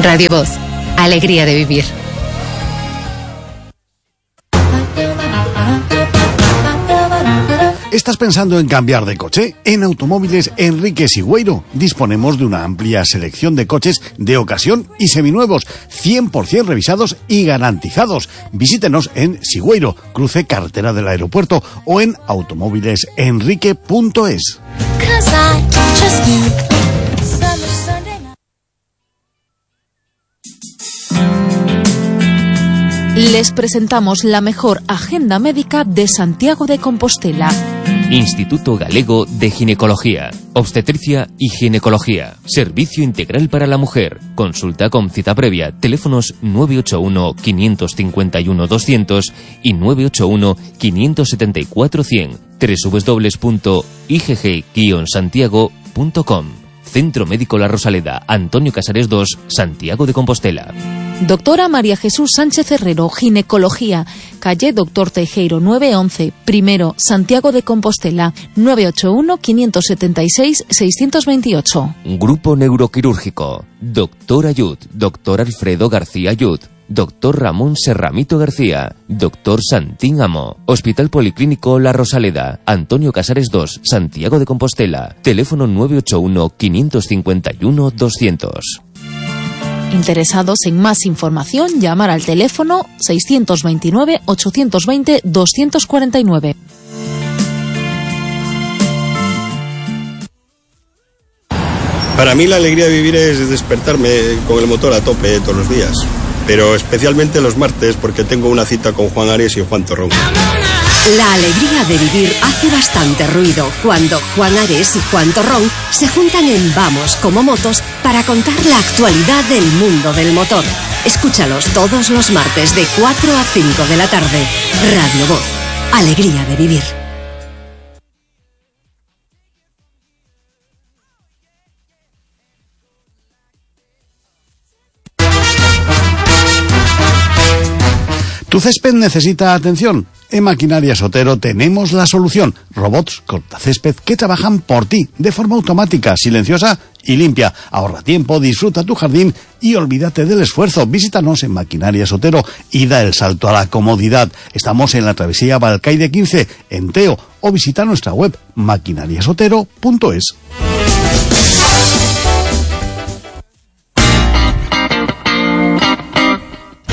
Radio Voz, alegría de vivir. ¿Estás pensando en cambiar de coche? En Automóviles Enrique Sigüeiro disponemos de una amplia selección de coches de ocasión y seminuevos, 100% revisados y garantizados. Visítenos en Sigüeiro, cruce carretera del aeropuerto, o en automóvilesenrique.es. Les presentamos la mejor agenda médica de Santiago de Compostela. Instituto Galego de Ginecología, Obstetricia y Ginecología. Servicio integral para la mujer. Consulta con cita previa. Teléfonos 981 551 200 y 981 574 100. www.igg-santiago.com. Centro Médico La Rosaleda, Antonio Casares 2, Santiago de Compostela. Doctora María Jesús Sánchez Herrero, Ginecología, calle Doctor Teijeiro 911, primero, Santiago de Compostela, 981-576-628. Grupo Neuroquirúrgico, Doctor Ayud, Doctor Alfredo García Ayud, Doctor Ramón Serramito García, Doctor Santín Amo, Hospital Policlínico La Rosaleda, Antonio Casares 2, Santiago de Compostela, teléfono 981-551-200. Interesados en más información, llamar al teléfono 629-820-249. Para mí la alegría de vivir es despertarme con el motor a tope todos los días, pero especialmente los martes porque tengo una cita con Juan Ares y Juan Torrón. La alegría de vivir hace bastante ruido cuando Juan Ares y Juan Torrón se juntan en Vamos como Motos para contar la actualidad del mundo del motor. Escúchalos todos los martes de 4 a 5 de la tarde. Radio Voz, alegría de vivir. ¿Tu césped necesita atención? En Maquinarias Otero tenemos la solución. Robots cortacésped que trabajan por ti, de forma automática, silenciosa y limpia. Ahorra tiempo, disfruta tu jardín y olvídate del esfuerzo. Visítanos en Maquinarias Otero y da el salto a la comodidad. Estamos en la travesía Balcaide 15, en Teo, o visita nuestra web maquinariasotero.es.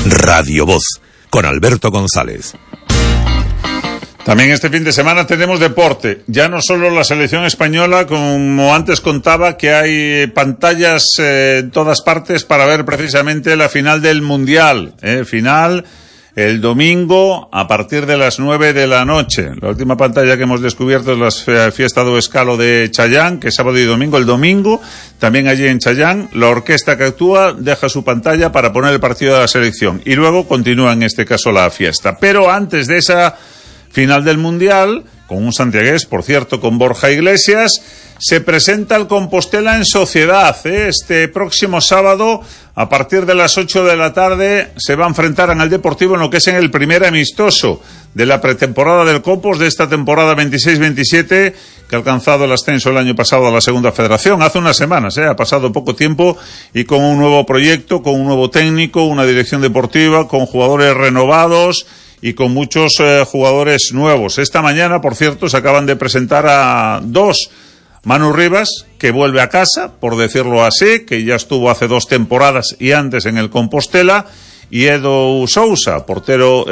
Radio Voz, con Alberto González. También este fin de semana tenemos deporte, ya no solo la selección española, como antes contaba, que hay pantallas en todas partes para ver precisamente la final del Mundial, final el domingo a partir de las 9 de la noche. La última pantalla que hemos descubierto es la fiesta do Escalo de Chayán, que es sábado y domingo. El domingo, también allí en Chayán, la orquesta que actúa deja su pantalla para poner el partido de la selección y luego continúa en este caso la fiesta. Pero antes de esa final del Mundial, con un santiagués, por cierto, con Borja Iglesias, se presenta el Compostela en Sociedad. Este próximo sábado, a partir de las 8 de la tarde, se va a enfrentar en el Deportivo en lo que es en el primer amistoso de la pretemporada del Compos de esta temporada 26-27, que ha alcanzado el ascenso el año pasado a la Segunda Federación. Hace unas semanas, ha pasado poco tiempo, y con un nuevo proyecto, con un nuevo técnico, una dirección deportiva, con jugadores renovados y con muchos jugadores nuevos. Esta mañana, por cierto, se acaban de presentar a dos. Manu Rivas, que vuelve a casa, por decirlo así, que ya estuvo hace 2 temporadas y antes en el Compostela, y Edu Sousa, portero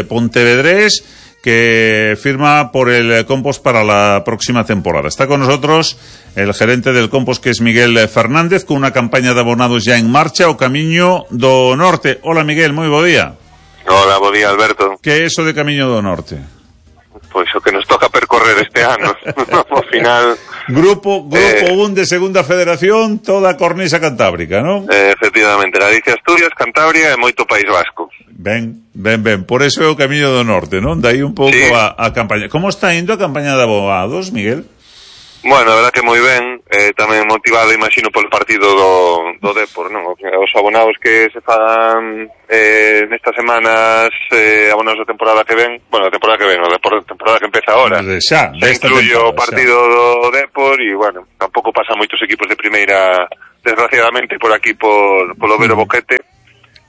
pontevedrés, que firma por el Compos para la próxima temporada. Está con nosotros el gerente del Compos, que es Miguel Fernández, con una campaña de abonados ya en marcha, o Camiño do Norte. Hola, Miguel, moi bo día. Hola, bo día, Alberto. Que é iso de Camiño do Norte? Pois o que nos toca percorrer este ano. Ao final... Grupo 1 de Segunda Federación, toda a cornisa cantábrica, non? Efectivamente, Galicia, Asturias, Cantabria e moito País Vasco. Ben. Por eso é o Camiño do Norte, non? Dai un pouco sí. a campaña. Como está indo a campaña de abogados, Miguel? Bueno, a verdad que moi ben, tamén motivado, imagino, polo partido do Depor, non? Os abonados que se fan nestas semanas, abonados da temporada que ven, bueno, a temporada que ven, a temporada que empeza ahora, se incluye o partido do Depor, e, bueno, tampouco pasa moitos equipos de primeira desgraciadamente, por aquí, polo Vero Boquete,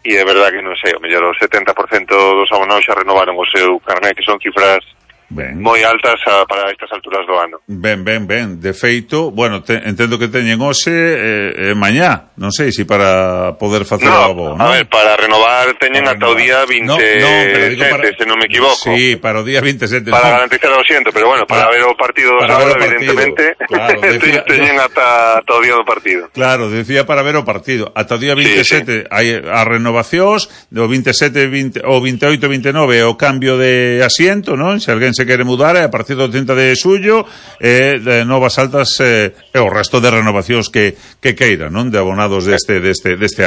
e é verdad que, non sei, o mellor o 70% dos abonados xa renovaron o seu carné, que son cifras moi altas para estas alturas do ano. Ben. De feito, bueno, entendo que teñen hoxe mañá, non sei se para poder facer algo, non? A ver, para renovar teñen ata o día 27, se non me equivoco. Sí, para o día 27. Para garantizar o siento, pero bueno, para ver o partido do sábado, evidentemente, claro, teñen ata o día do partido. Claro, decía para ver o partido. Ata o día 27 hai as renovacións, do 27, o 28, 29 o cambio de asiento, non? Se alguén se quere mudar, a partir do 30 de xullo de novas altas e o resto de renovacións que queiran, non? De abonados deste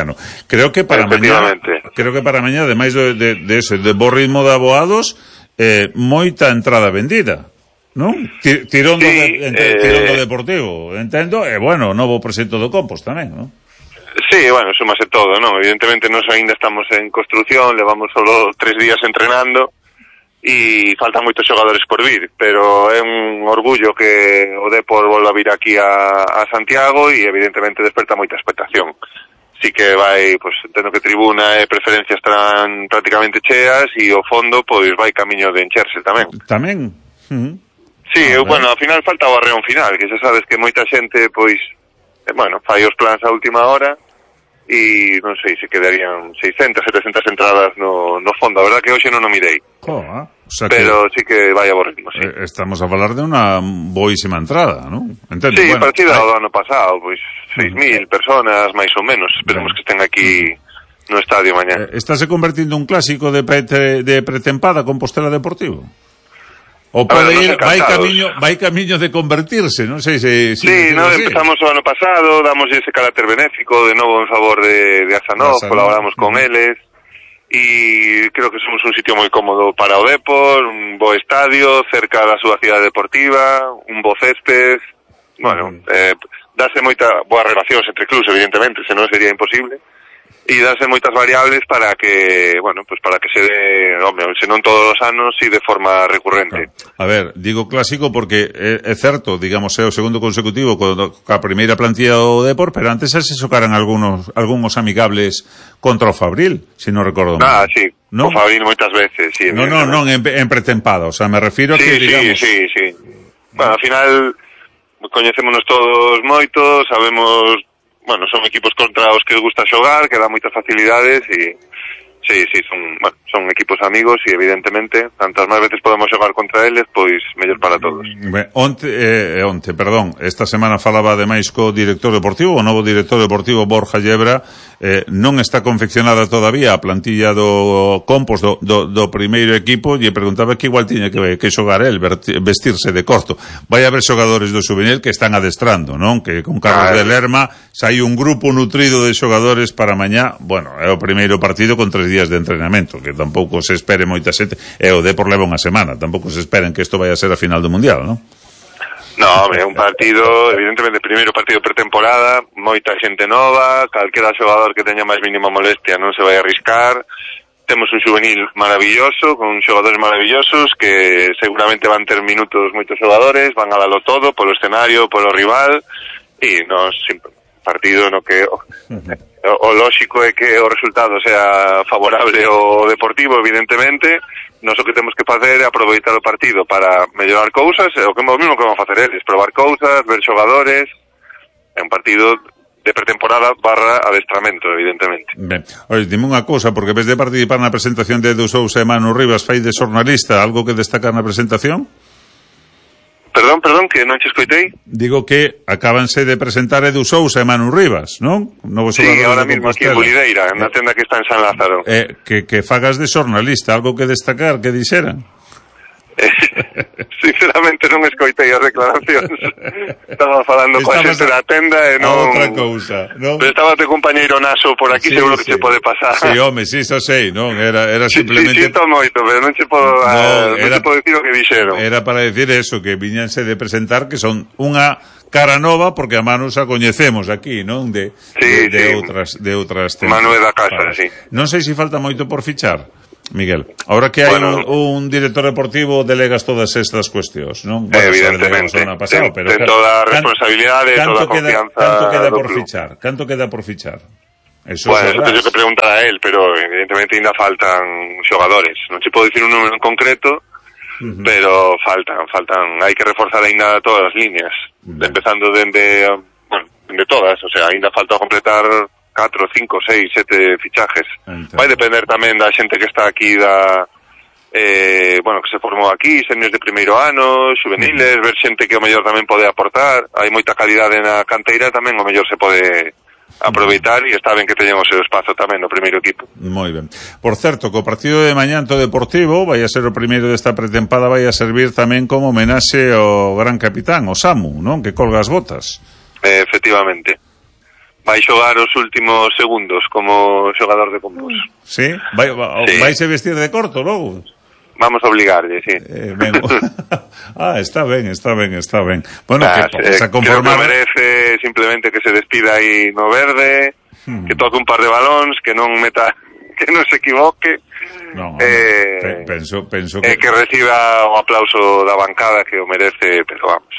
ano. Creo que para mañá, ademais de bo ritmo de aboados, moita entrada vendida, non? Tirón do Deportivo, entendo, e bueno, novo proxecto do Compos tamén, non? Sí, bueno, súmase todo, non? Evidentemente nós ainda estamos en construción, levamos solo 3 días entrenando e faltan moitos xogadores por vir, pero é un orgullo que o Depor volva a vir aquí a Santiago e evidentemente desperta moita expectación. Sí que vai, pues, entendo que tribuna e preferencia estarán prácticamente cheas e o fondo, pois, vai camiño de encherse tamén. Tamén? Sí, bueno, ao final falta o arreón final, que xa sabes que moita xente, pois, bueno, fai os plans a última hora e non sei se quedarían 600, 700 entradas no fondo. A verdad que hoxe non o mirei. O sea, pero sí que vai a bo ritmo, sí. Estamos a falar de unha boísima entrada, non? Entendo, sí, bueno, partida do ano pasado, pois 6.000 personas, máis ou menos. Esperemos que estén aquí no estadio mañá. Estáse convertindo un clásico de pretempada Compostela Deportivo? O pode ir, vai camiño de convertirse, non sei se... Sí, empezamos o ano pasado, damos ese carácter benéfico de novo en favor de Asanov, colaboramos con eles, e creo que somos un sitio moi cómodo para o Depor, un bo estadio, cerca da súa cidade deportiva, un bo césped, bueno, dáse moita boas relacións entre clubs, evidentemente, senón sería imposible, e darse moitas variables para que, bueno, pues para que se dé, hombre, se non todos os anos, si de forma recurrente. A ver, digo clásico porque é certo, digamos, é o segundo consecutivo ca primeira plantilla do Depor, pero antes se xocaran algúns amigables contra o Fabril, se non recordo mal. Sí, ¿no? O Fabril moitas veces, sí. Non, en pretempada, o sea, me refiro a que, digamos... Sí. Bueno, al final, coñecémonos todos moito, sabemos... Bueno, son equipos contra os que gusta xogar, que dá moitas facilidades e sí, son equipos amigos e evidentemente, tantas máis veces podemos xogar contra eles, pois mellor para todos. Onte, esta semana falaba ademais co director deportivo, o novo director deportivo Borja Llebra, non está confeccionada todavía a plantilla do Compos do primeiro equipo e preguntaba que igual tiña que xogar el, vestirse de corto. Vai haber xogadores do juvenil que están adestrando, non? Que con Carlos de Lerma sai un grupo nutrido de xogadores para mañá. Bueno, é o primeiro partido con 3 días de entrenamento, que tampouco se espere moita xente, e o Depor leva unha semana, tampouco se esperen que isto vai a ser a final do Mundial, non? No, hombre, un partido, evidentemente, primeiro partido pretemporada, moita xente nova, calquera xogador que teña máis mínima molestia non se vai a arriscar. Temos un juvenil maravilloso, con xogadores maravillosos, que seguramente van ter minutos moitos xogadores, van a dalo todo, polo escenario, polo rival, e nos partido no que o lóxico é que o resultado sea favorable ao Deportivo, evidentemente. Nós o que temos que facer é aproveitar o partido para mellorar cousas, o que mesmo que vamos facer eles, probar cousas, ver xogadores. É un partido de pretemporada / adestramento, evidentemente. Ben, oye, dime unha cousa, porque vez de participar na presentación de Edu Sousa e Manu Rivas, fai de xornalista, algo que destacar na presentación? Perdón, que non che escoitei. Digo que acábanse de presentar Edu Sousa e Manu Rivas, non? Sí, ahora mismo aquí en Bulideira, na tenda que está en San Lázaro. Que fagas de xornalista, algo que destacar, que dixeran? Sinceramente non escoitei as declaracións. Estaba falando coa xente da tenda e non... Outra cousa, non? Pero estaba te compañeiro Naso por aquí, seguro que se pode pasar. Sí, home, sí, xa sei, non? Era simplemente... Sí, sinto moito, pero non che podo dicir o que dixeron. Era para decir eso, que viñanse de presentar que son unha cara nova, porque a Manu xa coñecemos aquí, non? De outras Manu é da casa, sí. Non sei se falta moito por fichar. Miguel, ahora que hai un director deportivo, delegas todas estas cuestións, non? Bueno, evidentemente, ten toda a responsabilidade, toda a confianza. Canto queda por fichar? Eso teño que preguntar a él, pero evidentemente ainda faltan xogadores. Non se pode dicir un número en concreto, pero faltan, hai que reforzar ainda todas as líneas, empezando dende todas, o sea, ainda falta completar 4, 5, 6, 7 fichajes. Vai depender tamén da xente que está aquí que se formou aquí, seniors de primeiro ano, juveniles, ver xente que o mellor tamén pode aportar. Hai moita calidade na canteira, tamén o mellor se pode aproveitar e está ben que teñan o seu espazo tamén no primeiro equipo. Moi ben. Por certo, que o partido de mañá ante o Deportivo vai a ser o primeiro desta pretempada, vai a servir tamén como homenaxe ao gran capitán, o Samu, non? Que colga as botas. Efectivamente. Vai xogar os últimos segundos como xogador de Compos. Sí? Vai se vestir de corto logo? Vamos a obligarlle, sí. Está ben. Bueno, que se conformar... Creo que merece simplemente que se despida aí no verde, que toque un par de balóns, que non se equivoque. Penso que reciba o aplauso da bancada que o merece, pero vamos.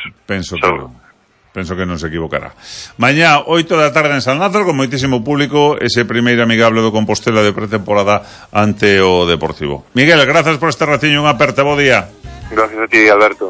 Penso que non se equivocará. Mañá, 8 da tarde en San Lázaro, con moitísimo público, ese primeiro amigable do Compostela de pretemporada ante o Deportivo. Miguel, grazas por este ratiño, unha aperta, bo día. Gracias a ti, Alberto.